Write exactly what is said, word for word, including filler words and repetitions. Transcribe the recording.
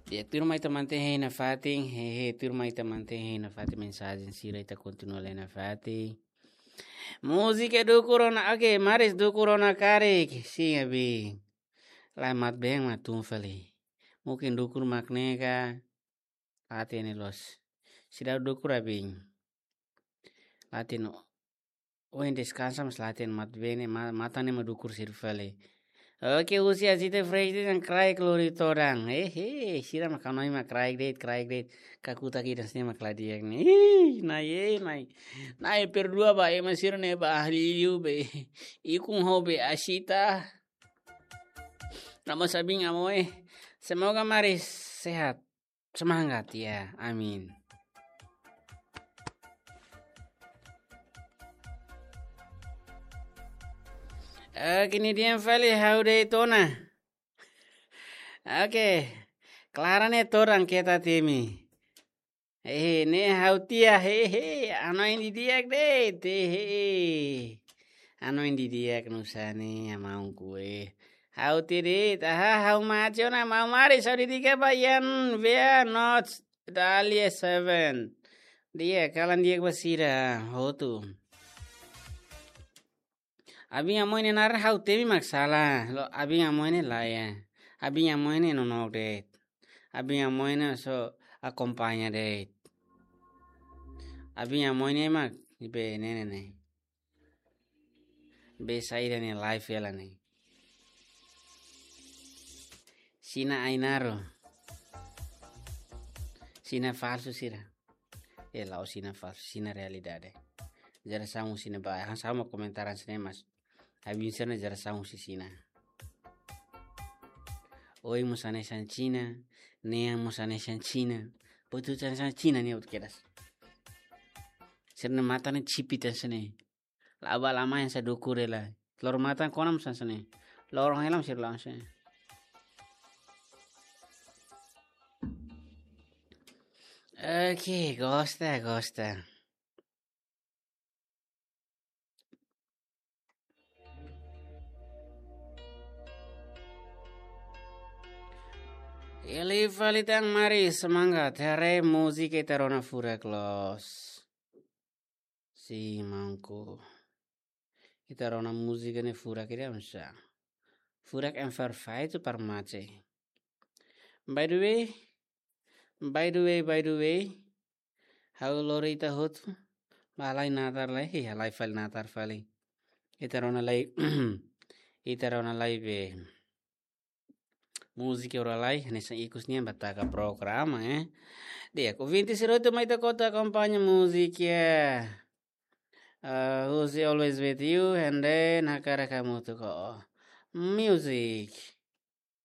Ya, tuirmai ita mantein hein nafatin, hehe, tuirmai ita mantein hein nafatin mensajen sira, ita kontinua lee nafatin. Múzika dukur ona, oke, Maris, dukur ona karik, sin, abin. Lae, mat-been mak tun fali. Mungkin dukur mak ne'e ka, la hatene loos. Seidauk dukur, abin. La hatene. Ohin deskansa, mas la hatene, mat-been ne'e, ma-, matan ne'e mak dukur sira fali. Oke, husi Azite Fresh de'it, yang kraik lori todan. Ehe, sira mak kanoin mak kraik de'it, kraik de'it. Kakutak ida-ne'e mak la di'ak ne'e. Ih, nai, eh, nai. Nai, perdua ba, ema sira ne'e ba ahli liu be. Ikun ho be asita. Nama sabing amo, eh. Semoga Maris sehat. Semangat ya, amin. Eh, kini diam fali ha'u de'it ona. Oke. Clara ne'e todan keta temi. Hehe, ne'e ha'u tiha, hehe, hanoin didi'ak de'it, hehe. Hanoin didi'ak nu'usá ne'e, amaun kue. Ha'u tiha de'it, aha, ha'u mate ona, maun Maris, ha'u dedika ba Ian Vea Notes, Dahlia Seven. Di'ak, kalan di'ak ba sira, hotu. Abin Amoy ne'e naran ha'u temi mak sala. Loos, Abin Amoy ne'e lae. Abin Amoy ne'e nonook de'it. Abin Amoy ne'e só akompaña de'it. Abin Amoy ne'e mak be ne'e ne'e ne'e. Be saida ne'e live hela ne'e. Sina Ainaro. Sina falsu sira. Eh, la'ós sina falsu, sina realidade. Jerasaun sina ba, hanesan ha'u mak komentar hanesan ne'e mas. Abin sira ne'e jerasaun husi sina. Oin mós hanesan sina, nean mós hanesan sina. Buat hotu hanesan sina ne'e hotu kedas. Sira-nia matan ne'e sipit hanesan ne'e. La'o ba lama hanesan dukur hela. Loro matan kona mós hanesan ne'e. Loro hela mós sira la'o hanesan ne'e. Oke, gosta, gosta. Hili fali tan Maris, semangat. Haree múzika ita rona furak loos. Sin, maunku. Ita rona múzika ne'e furak ida oinsá. Furak en perfeitu para mate. By the way, by the way, by the way, ha'u lori ita hotu ba halai natar lai, hi, halai fali natar fali. Ita rona lai, ita rona lai be. Múzika ora lai, hanesan ikus nian ba taka programa, eh. Di'ak, ouvinte sira hotu mai ita hotu akompaña múzika. Ah, Who's Always With You, and then Hakarak Hamutuk Ho. Music.